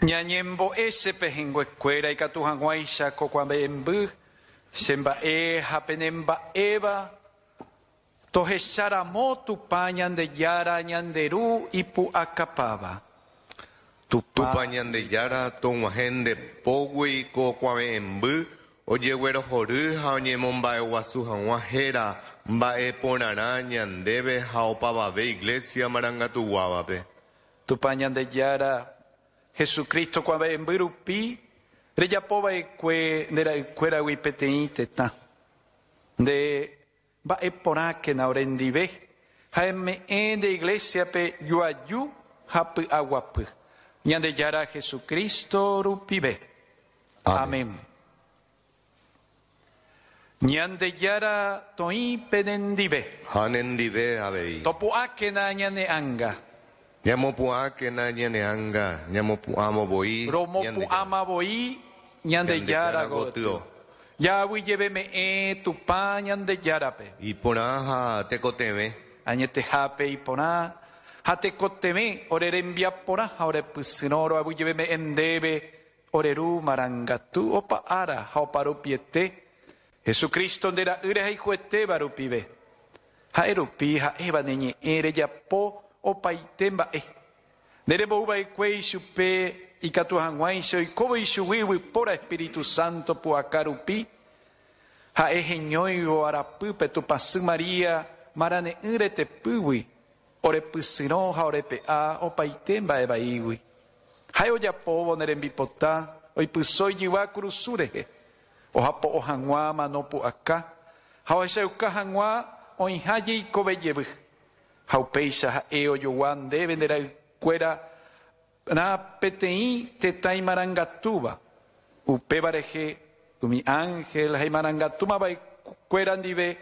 Ñañembo'e che pehẽnguekuéra ikatu hag̃uáicha ko kuave'ẽmby che mba'e ha pene mba'éva tohecharamo Tupã Ñandejára ñande Ru ipu'akapáva. Tupã. Tupã Ñandejára tog̃uahẽ nde pógui ko kuave'ẽmby ojeguerohory ha oñemomba'eguasu hag̃ua héra mba'e porãrã ñandéve ha opavave Iglesia marangatuguávape. Tupã Ñandejára, Jesucristo kuave'ẽmby rupi rejapo va'ekue nde ra'ykuéragui peteĩ tetã. Nde mba'e porãkena orendive ha eme'ẽ nde Iglesia-pe joaju ha py'aguapy. Ñandejára Jesucristo rupive. Amén. Amén. Ñandejára toĩ penendive. Ha nendive avei. Topu'ãkena ñane ánga. Ñamopu'ãkena ñane ánga, ñamopu'ãvo voi Romopu'ãma voi Ñandejára gotyo. Jaaguyjeveme'ẽ Tupã Ñandejárape. Iporã ha tekotevẽ. Añetehápe iporã ha tekotevẽ ore rembiaporã ha ore pysyrõ roaguyjeveme'ẽ ndéve Ore Ru marangatu opa ára ha opa rupiete, Jesucristo nde Ra'y rehayhuetéva rupive. Ha'e rupi ha'éva ne ñe'ẽ rejapo opaite mba'e. Nde rembou va'ekue ichupe ikatu hag̃uáicha oikóvo ichugui yvypóra Espíritu Santo pu'aka rupi, ha'e heñóivo arapýpe Tupãsy María marane'ỹ retepýgui, Ore pysyrõ ha ore pe'a opaite mba'e vaígui. Ha'e ojapóvo ne rembipota oipyso ijyva kurusu rehe, ohapo'o hag̃ua mano pu'aka ha ohechauka hag̃ua oĩha jeikove jevy. Ha upéicha ha'e ojogua ndéve nde ra'ykuéra rã peteĩ tetã imarangatúva. Upéva rehe umi ánhel ha imarangatúmava'ekuéra ndive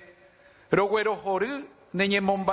roguerohory ne ñemomba'e.